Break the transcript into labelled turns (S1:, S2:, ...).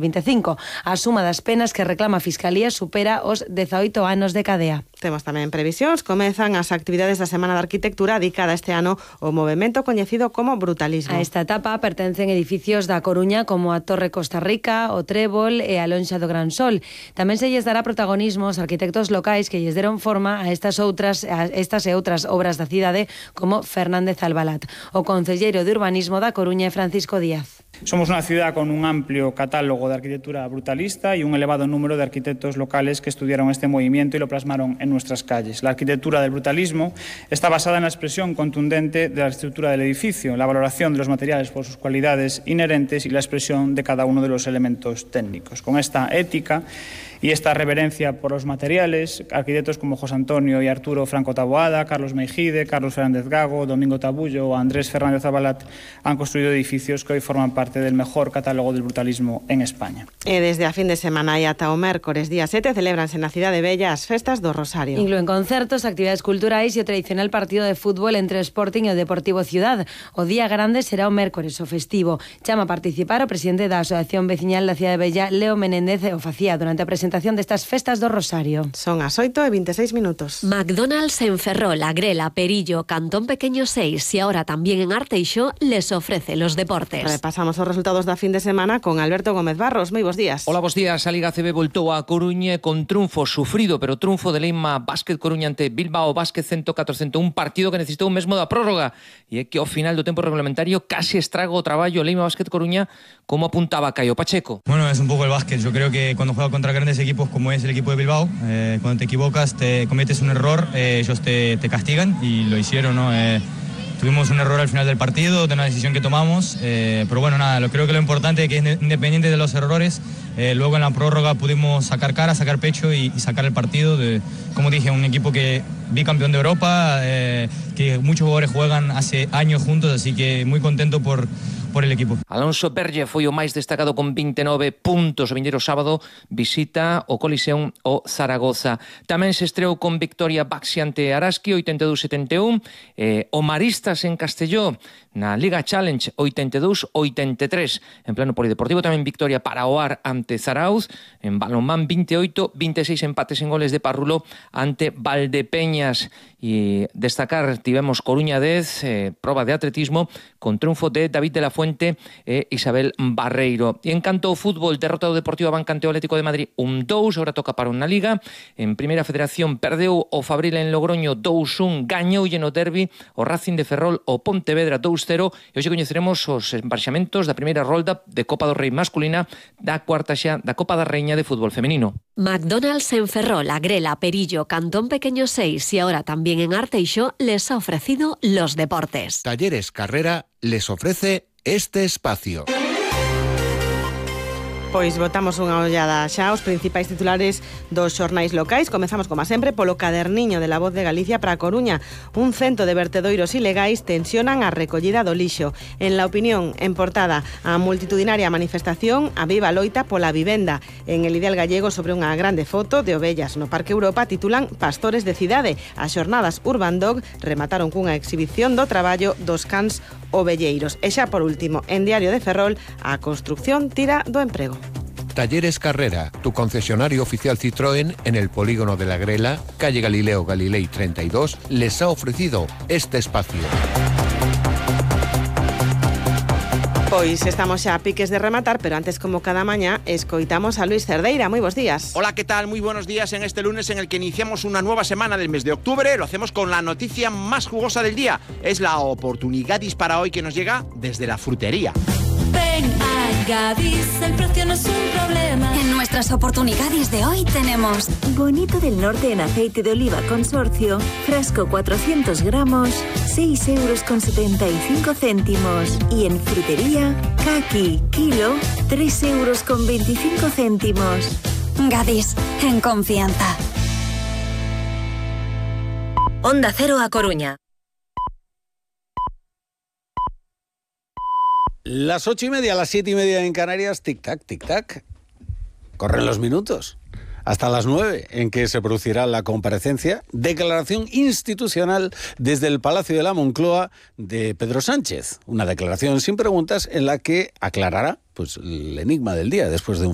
S1: 25. A suma das penas que reclama a Fiscalía supera os 18 anos de cadea.
S2: Temos tamén previsións. Comezan as actividades da Semana de Arquitectura dedicada este ano ao movemento coñecido como brutalismo.
S1: A esta etapa pertencen edificios da Coruña como a Torre Costa Rica, o Trébol e a Lonxa do Gran Sol. Tamén se lles dará protagonismo aos arquitectos locais que lles deron forma a estas e outras obras da cidade como Fernández Albalat. O concelleiro de Urbanismo da Coruña é Francisco Díaz.
S3: Somos una ciudad con un amplio catálogo de arquitectura brutalista y un elevado número de arquitectos locales que estudiaron este movimiento y lo plasmaron en nuestras calles. La arquitectura del brutalismo está basada en la expresión contundente de la estructura del edificio, la valoración de los materiales por sus cualidades inherentes y la expresión de cada uno de los elementos técnicos. Con esta ética y esta reverencia por los materiales, arquitectos como José Antonio y Arturo Franco Taboada, Carlos Meijide, Carlos Fernández Gago, Domingo Tabullo o Andrés Fernández Albalat han construido edificios que hoy forman parte del mejor catálogo del brutalismo en España.
S2: E desde a fin de semana e ata o mércores día 7 celebranse na Cidade Bella as festas do Rosario.
S1: Inclúen concertos, actividades culturais e o tradicional partido de fútbol entre o Sporting e o Deportivo Ciudad. O día grande será o mércores, o festivo. Chama a participar o presidente da Asociación Veciñal da Cidade Bella, Leo Menéndez, o facía durante a presentación destas festas do Rosario.
S2: Son as 8:26 minutos.
S4: McDonald's en Ferrol, Agrela, Perillo, Cantón Pequeño 6 y ahora también en Arteixo les ofrece los deportes.
S2: Repasamos os resultados da fin de semana con Alberto Gómez Barros. Moi bos días.
S5: Hola, bos días. A Liga CB voltou a Coruña con triunfo sufrido, pero triunfo de Leima Basket Coruña ante Bilbao Basket 104-101, un partido que necesitou mesmo da prórroga e é que ao final do tempo reglamentario casi estraga o traballo Leima Basket Coruña, como apuntaba Caio Pacheco.
S6: Bueno, es un poco el básquet. Yo creo que cuando juegas contra grandes equipos como es el equipo de Bilbao, cuando te equivocas, te cometes un error, ellos te castigan y lo hicieron, ¿no? Tuvimos un error al final del partido, de una decisión que tomamos, pero bueno, nada, creo que lo importante es que independiente de los errores, luego en la prórroga pudimos sacar cara, sacar pecho y sacar el partido. Como dije, un equipo que bicampeón de Europa, que muchos jugadores juegan hace años juntos, así que muy contento por el equipo.
S5: Alonso Berge foi o máis destacado con 29 puntos. O vindeiro sábado visita o Coliseum o Zaragoza. Tamén se estreou con victoria Baxi ante Araski 82-71, o Maristas en Castelló na Liga Challenge 82-83. En plano polideportivo tamén victoria para o Ar ante Zarauz, en balonmán 28-26 empates en goles de Parrulo ante Valdepeñas. E destacar, tivemos Coruña 10, proba de atletismo con triunfo de David de la Fuente e Isabel Barreiro. E en canto ao fútbol, derrota do Deportivo Abancante o Atlético de Madrid 1-2, agora toca para unha Liga. En Primeira Federación perdeu o Fabril en Logroño 2-1, gañoulle no derbi o Racing de Ferrol o Pontevedra 2-0, e hoxe coñeceremos os emparexamentos da primeira rolda de Copa do Rei masculina, da cuarta xa da Copa da Reina de fútbol femenino.
S4: McDonald's en Ferrol, Agrela, Perillo, Cantón Pequeño 6 y ahora también en Arteixo les ha ofrecido los deportes.
S7: Talleres Carrera les ofrece este espacio.
S2: Pois botamos unha ollada xa aos principais titulares dos xornais locais. Comezamos, como sempre, polo caderniño de La Voz de Galicia para a Coruña. Un cento de vertedoiros ilegais tensionan a recollida do lixo. En La Opinión, en portada, a multitudinaria manifestación a viva loita pola vivenda. En El Ideal Gallego, sobre unha grande foto de ovellas no Parque Europa, titulan Pastores de Cidade. As xornadas Urban Dog remataron cunha exhibición do traballo dos cans ovelleiros. E xa por último, en Diario de Ferrol, a construcción tira do emprego.
S7: Talleres Carrera, tu concesionario oficial Citroën en el polígono de La Grela, calle Galileo Galilei 32, les ha ofrecido este espacio.
S2: Pois estamos xa a piques de rematar, pero antes, como cada mañá, escoitamos a Luis Cerdeira. Moi bons días.
S8: Hola, ¿qué tal? Muy buenos días en este lunes en el que iniciamos una nueva semana del mes de octubre. Lo hacemos con la noticia más jugosa del día. Es la oportunidad para hoy que nos llega desde la frutería.
S9: Ven a Gadis, el precio no es un problema. En nuestras oportunidades de hoy tenemos
S10: Bonito del Norte en aceite de oliva consorcio, frasco 400 gramos, 6,75 €. Y en frutería, caqui, kilo, 3,25 €.
S9: Gadis, en confianza.
S10: Onda Cero a Coruña.
S11: Las 8:30, las 7:30 en Canarias, tic-tac, tic-tac. Corren los minutos. Hasta las 9, en que se producirá la comparecencia, declaración institucional desde el Palacio de la Moncloa de Pedro Sánchez. Una declaración sin preguntas en la que aclarará pues, el enigma del día después de un